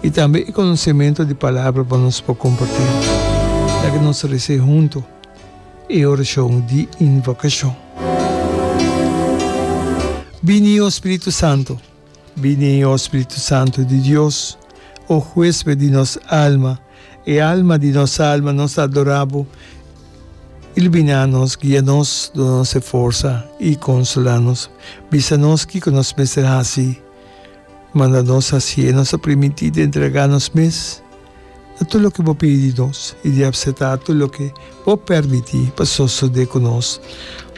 I tambe e konosementu di palabra pa nos por kompartí. Laga nos resa huntu e orashon di invokashon. Bini, o Spiritu Santu! Bini, o Spiritu Santu di Dios, o huésped di nos alma, e alma di nos alma, nos ta adorá bo. Iluminá nos, guia nos, duna nos e forsa i konsolá nos. Bisa nos kiko nos mester hasi. Manda nos hasié. Nos ta primintí di entregá nos mes na tur loke bo pidi di nos i di apseptá tur loke bo permití pa sosodé ku nos.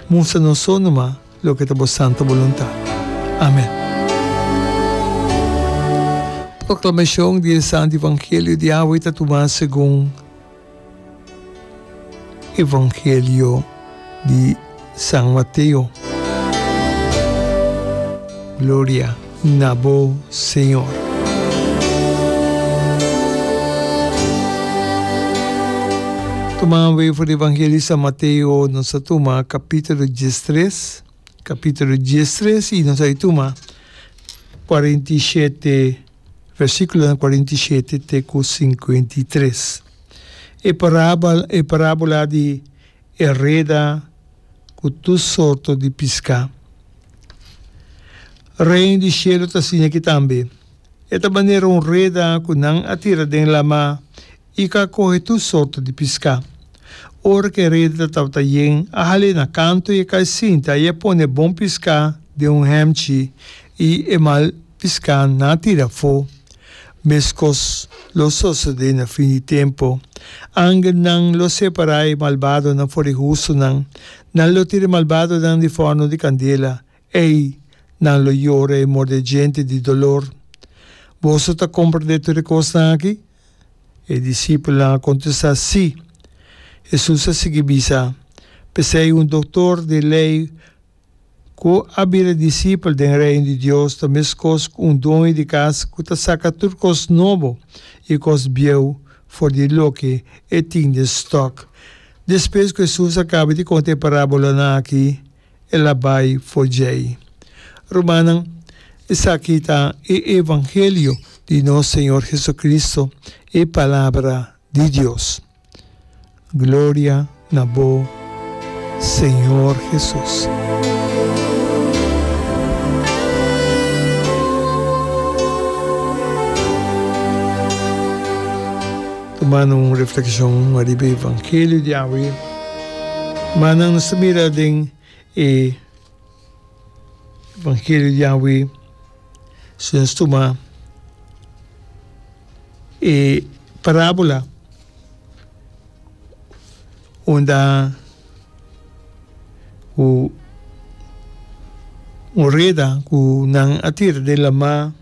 Mustra nos so numa loke ta bo santa boluntat. Amèn. Proklamashon di e Santu Evangelio di awe ta tumá segun. Evangelio di San Mateo. Gloria na bo, Señor. Tuma for di Evangelio di San Mateo, nos a tuma capítulo diestres, capítulo diestres y nos a tuma 47, versículonan 47 te cu 53. E parabel, e parábola di e reda ku tur sorto di piská. Reino di shelu ta asina aki tambe. E ta manera un reda ku nan a tira den lamá i ku a kohe tur sorto di piská. Ora ku e reda tabata yen, a hal'é na kantu i a kai sinta i a pone bon piská den un hèmchi i e mal piská nan a tira afó. Meskos lo sosodé na fin di tempu. Angelnan lo separá e malbadonan for di e hustunan. Nan lo tira e malbadonan di fòrnu di kandela. Ei, nan lo yora i morde djente di dolor. Boso ta komprendé tur e kosnan akí? E disipelnan a kontestá, Sí. Hesus a sigui bisa, P'esei un doktor di lei Ku a bira disipel den Reino di Dios ta meskos ku un doño di kas ku ta saka tur kos nobo i kos bieu for di loke e tin den stòk. Despues ku Hesus a kaba di konta e parábolanan akí, el a bai for djei. Rumannan, esaki ta e evangelio di nos Señor Jesucristo, e Palabra di Dios. Gloria na bo, Señor Jesus. Tumando un reflexion ariba e evangelio di awe, manan nos ta mira den e evangelio di awe, si nos tuma e parabola unda ku un reda ku nan a tira den lamá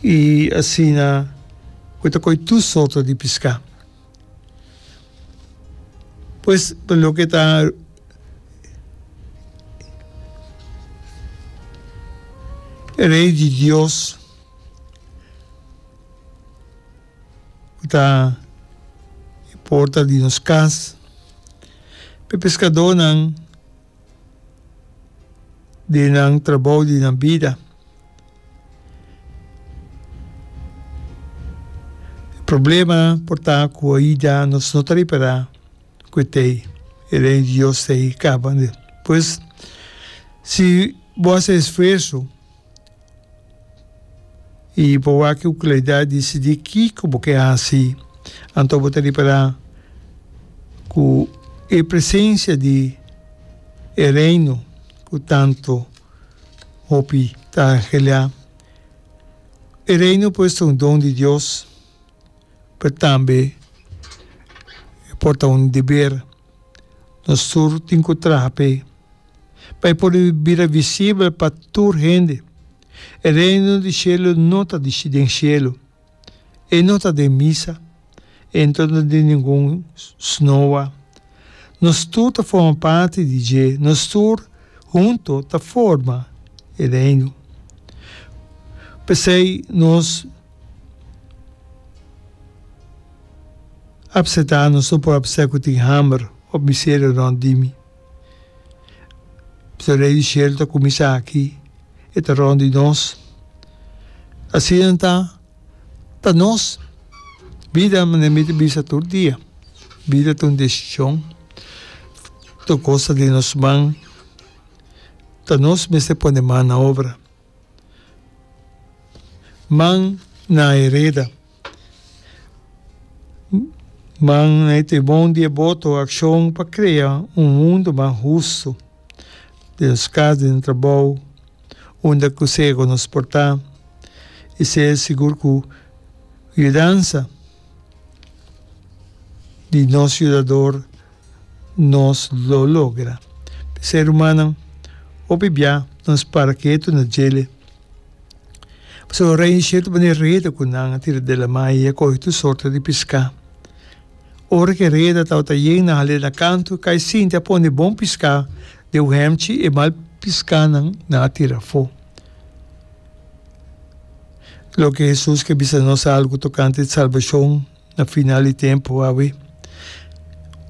i asina ku ta kohe tur sorto di piská. Pues pa loke ta e Rei di Dios ku ta e porta di nos kas, pa e peskadónan den nan trabou di nan bida. E problema por ta ku aida nos no ta ripará ku e t'ei, e Reino di Dios t'ei kaba. Pues, si bo hasi esfuerso i bo wak ku klaridat disidí kiko bo ke hasi, anto bo ta ripará ku e presensia di e Reino ku tantu Hopi ta anhelá. E Reino pues ta un don di Dios, pero tambe e por ta un deber. Nos tur tin ku traha p'e, pa e por bira visibel pa tur hende. E Reino di shelu no ta den shelu. E no ta den misa, e no ta den ningun snoa. Nos tur ta forma parti di dje, nos tur hunto ta forma e Reino. P'esei nos apseptá, nos no por apseptá ku tin hamber òf miseria rònt di mi. Pasobra Rei di Shelu ta kuminsá aki. E ta rònt di nos. Asina ta, ta nos bida manera mi ta bisa tur dia, bida ta un desishon, tur kos ta den nos man, ta nos mester pone man na obra. Man na e reda. Man na e timon di e boto, akshon pa krea un mundu mas hustu den nos kas, den nos trabou, unda ku sea ku nos por ta. I sea sigur ku yudansa di nos Yudador nos lo logra. P'esei rumannan, hopi bia nos para ketu na djele. Pasobra rei di shelu ta pone reda ku nan a tira den lamá i a kohe tur sorto di piská. Ora ku e reda tabata yen, nan hal'é na kantu, kai sinti a pone bon piská den un hèmchi, e mal piskánan nan a tira afó. Loke Hesus ke bisa nos algu tokante salbashon na final di tempu awe.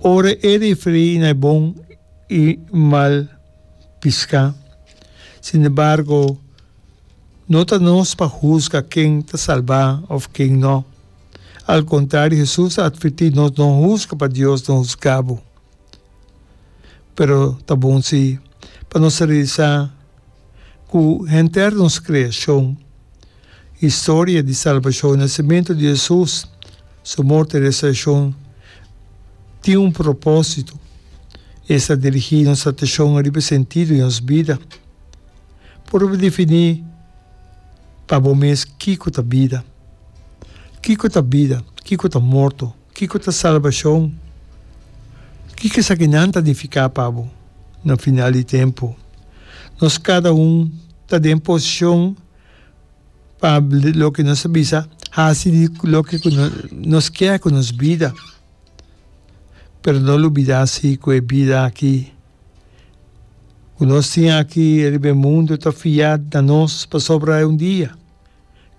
Ora e referí na e bon i mal piská. Sinembargo, no ta nos pa husga ken ta salbá òf ken nò. Al kontrario, Hesus a atvertí nos, No husga pa Dios no husga bo. Pero ta bon sí pa nos realisá ku henter nos kreashon, historia di salbashon, nasementu di Hesus, su morto i resurekshon, tin un propósito. Esta dirigí nos atenshon riba e sentido di nos bida. Purba definí pa bo mes kiko ta bida. Kiko ta bida? Kiko ta morto? Kiko ta salbashon? Kiko esakinan ta nifiká pa bo na final di tempu? Nos kada un ta den posishon pa loke nos ta bisa, hasi di loke ku nos kier ku nos bida. Pero no lubidá si ku e bida aki ku nos tin aki riba e mundu ta fiá na nos pasobra un dia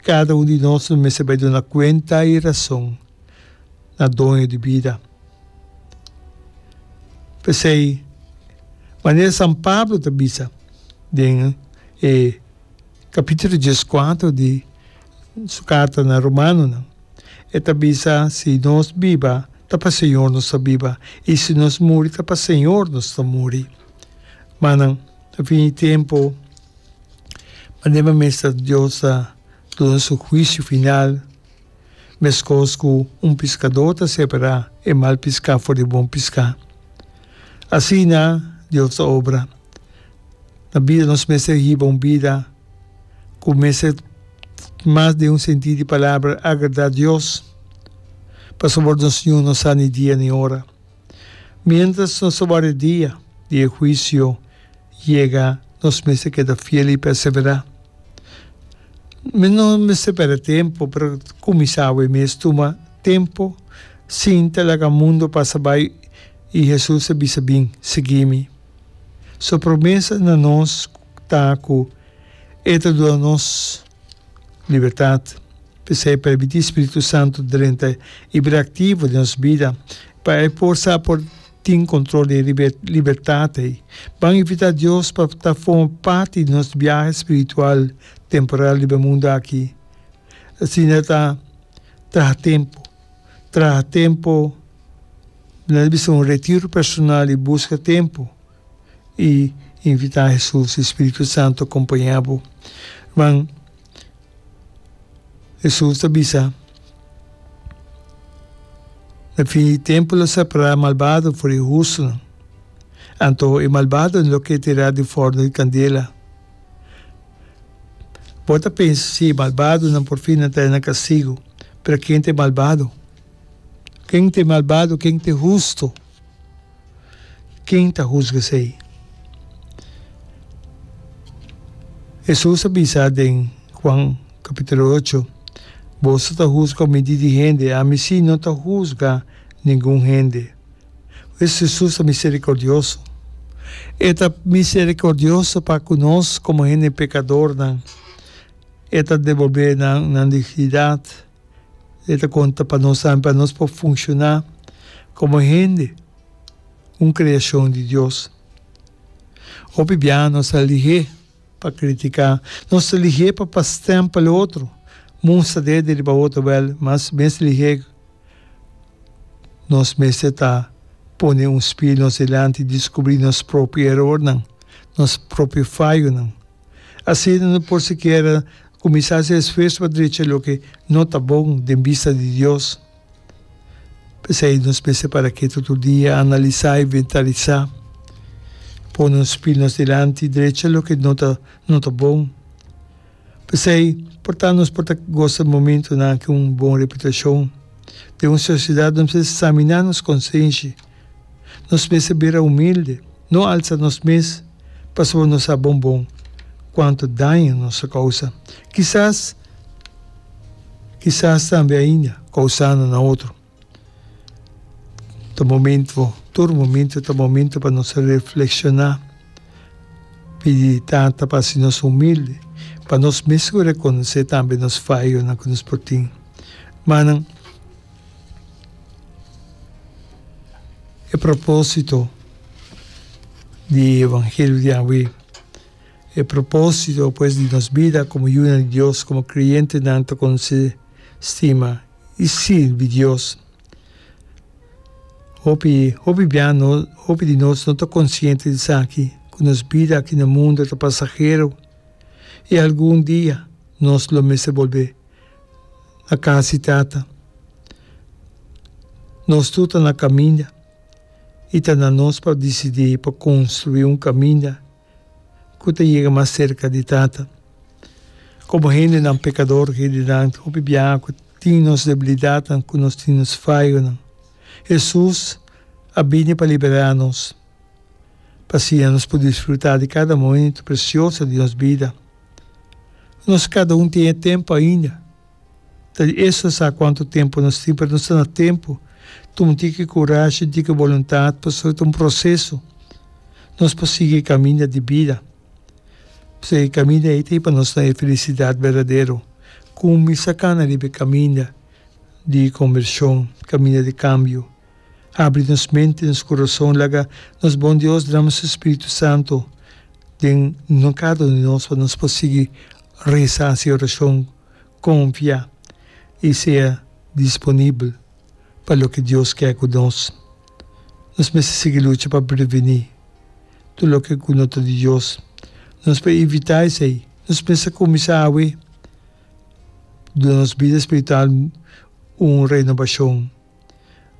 kada un di nos lo mester bai duna kuenta i rason na Doño di bida. P'esei, manera San Pablo ta bisa den e Capítulo dieskuater di su carta na Romanonan, e ta bisa, Si nos biba, ta pa Señor nos ta biba, i si nos muri, ta pa Señor nos ta muri. Manan, na fin di tempu, manera mester Dios ta duna su huisio final, meskos ku un piskadó ta separá e mal piská for di bon piská. Asina Dios ta obra. Na bida nos mester hiba un bida ku mester mas den un sentí di palabra agradá Dios, pasobra nos niun no sa ni dia ni ora. Miéntras nos ta warda e dia di e huisio yega, nos mester keda fiel i perseverá. Mi no mester pèrdè tempu, pero kuminsá awe mes tuma tempu sinta laga mundu pasa bai i Hesus a bisa bin, sigui mi. Su promesa na nos ta ku E ta duna nos libertat. P'esei permití Spiritu Santu drenta i bira aktivo den nos bida pa e por sa por tin kontrol di e libertat ei. Ban invitá Dios pa ta forma parti di nos biahe spiritual temporal riba e mundu aki. Asina ta traha tempu, traha tempu. Nan a bisa un retiro personal i buska tempu i invitá Hesus i Spiritu Santu kompañá bo. Ruman, Hesus ta bisa, Na fin di tempu lo separá malbado for di hustunan. Anto e malbadonan lo keda tirá di fòrnu di kandela. Bo ta pensa si e malbadonan por fin a trae nan kastigu, pero ken ta e malbado? Ken ta e malbado, ken ta e husto? Ken ta husga esei? Hesus a bisa den Juan capítulo ocho, Boso ta husga midí di hende, ami sí no ta husga ningun hende. Pues Hesus ta misericordioso. E ta misericordioso pa cu nos como hende pecadornan. E ta debolbe nan nan dignidad. E ta konta pa nos tambe pa nos por funshoná komo hende, un kreashon di Dios. Hopi bia nos a lihé. pa kritiká, nos ta lihé pa pa stèmpel otro, mustra dede riba otro, wèl, mas mes lihé nos mester ta pone un spil nos dilanti i diskubrí nos propio erornan, nos propio fayonan. Asina no por sikiera kuminsá hasi esfuerso pa drecha loke no ta bon den bista di Dios. P'esei nos mester para ketu tur dia, analisá, inventarisá, pone un spil nos dilanti, drecha loke no ta no ta bon. P'esei, por ta nos por ta gosa momentunan ku un bon reputashon. Den un sosiedat nos mester saminá nos konsenshi. Nos mester bira humilde, no alsa nos mes pasobra nos sa bon bon kuantu daño nos a kousa. Kisas, kisas tambe ainda kousando na otro. Ta momento, tur momento ta momento pa nos reflekshoná, pidi Tata pa hasi nos humilde, pa nos mes ku rekonosé tambe nos fayonan ku nos por tin. Manan, e propósito di e evangelio di awe, e propósito pues di nos bida komo yunan di Dios, komo kreyentenan ta konosé, stima i sirbi Dios. Hopi, hopi bia no, hopi di nos no ta konsiente di esaki, ku nos bida aki na mundu ta pasahero i algun dia nos lo mester bolbe na kas di Tata. Nos tur ta na kaminda i ta na nos pa disidí pa konstruí un kaminda ku ta yega mas serka di Tata. Komo hendenan pekador, hendenan hopi biaha ku tin nos debilidatnan, ku nos tin nos fayonan, Hesus a bini pa liberá nos, pa asina nos por disfrutá di kada momento presioso di nos bida. Nos kada un tin e tempu ainda. Ta di eso sa kuantu tempu nos tin, pero nos ta na tempu. Tuma un tiki kurashi, un tiki boluntat, pasobra ta un proseso. Nos por sigui e kaminda di bida. Pasobra e kaminda ei ta hiba nos na e felisidat berdadero. Kuminsá kana riba e kaminda di kombershon, kaminda di kambio. Habri nos mente, nos kurason, laga nos bon Dios drama su Spiritu Santu den kada un di nos pa nos por sigui resa, hasi orashon. Konfia i sea disponibel pa loke Dios ke ku nos. Nos mester sigui lucha pa prevení tur loke ku no ta di Dios. Nos por evitá esei. Nos mester kuminsá awe duna nos bida spiritual un renobashon.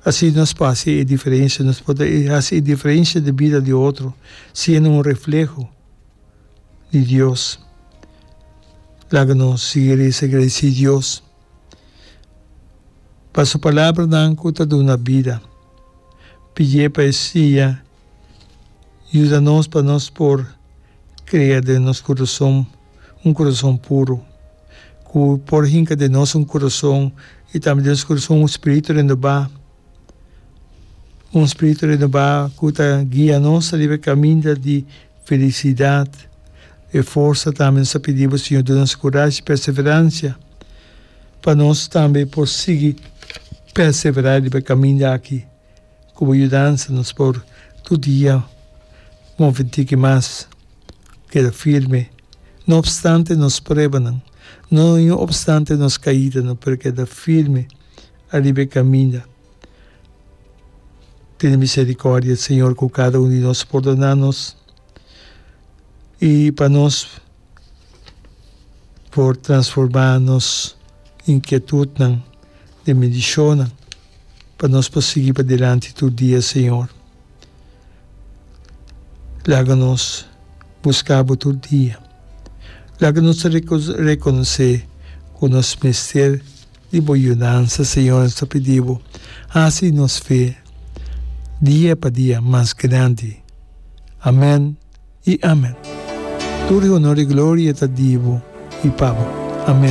Asina nos por hasi e diferensia, nos por hasi e diferensia den bida di otro, siendo un refleho di Dios. Laga nos sigui resa gradisí Dios pa su palabranan ku ta duna bida. Pidié pa e siña yuda nos pa nos por krea den nos kurason un kurason puru, ku por hinka den nos un kurason i tambe den nos kurason un spiritu renobá. Un spiritu renobá ku ta guia nos riba e kaminda di felisidat. E forsa tambe nos ta pidi bo, Señor, duna nos kurashi i perseveransia pa nos tambe por sigui perseverá riba e kaminda aki. Ku bo yudansa nos por tur dia move tiki mas, keda firme, no opstante nos pruebanan, no opstante nos kaidanan, pero keda firme. Ariba e kaminda. Tene misericordia, Señor, ku kada un di nos. Pordona nos i pa nos por transforma nos inkietudnan den bendishonnan, pa nos por sigui padilanti tur dia, Señor. Laga nos buska Bo tur dia. Laga nos rekonosé ku nos mester. Di bo yudansa, Señor, nos ta pidi bo, hasi nos fe dia pa dia mas grandi. Amen i amen. Tur e honor i gloria ta di bo i pa bo.